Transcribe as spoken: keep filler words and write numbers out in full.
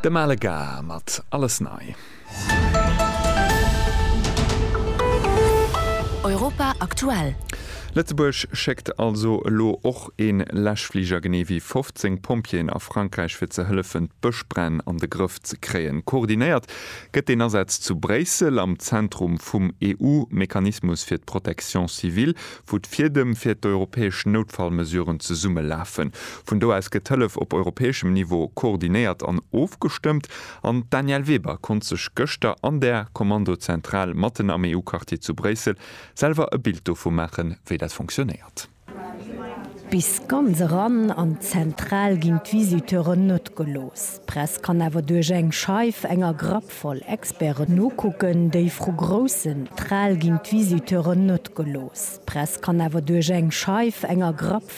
De Malega mat Alles nei. Europa aktuell. Lëtzebuerg schéckt also elo och een Läschfliger genee wéi fofzéng Pompjeeën a Frankräich fir ze hëllefen d'Bëschbränn an de Grëff ze kréien. Koordinéiert gëtt deen Asaz zu Bréissel am Zentrum vum E U-Mechanismus fir d'Protection civile, wou d'Fiedem fir d'europäesch Noutfallmesuren zesummelafen. Vun do aus gëtt d'Hëllef op europäeschem Niveau koordinéiert an ofgestëmmt. An d'Danièle Weber konnt sech gëschter an där Kommandozentral matten am E U-Quartier zu Bréissel selwer e Bild dovu maachen, wéi dat fonctionnéiert. Bis ganz eran an d'Zentral ginn d'Visiteuren net gelooss. D'Press kann awer duerch eng Scheif enger Grapp voll Experten nokucken, déi vru groussen Tral ginn d'Visiteuren net gelooss. D'Press kann awer duerch eng Scheif enger Grapp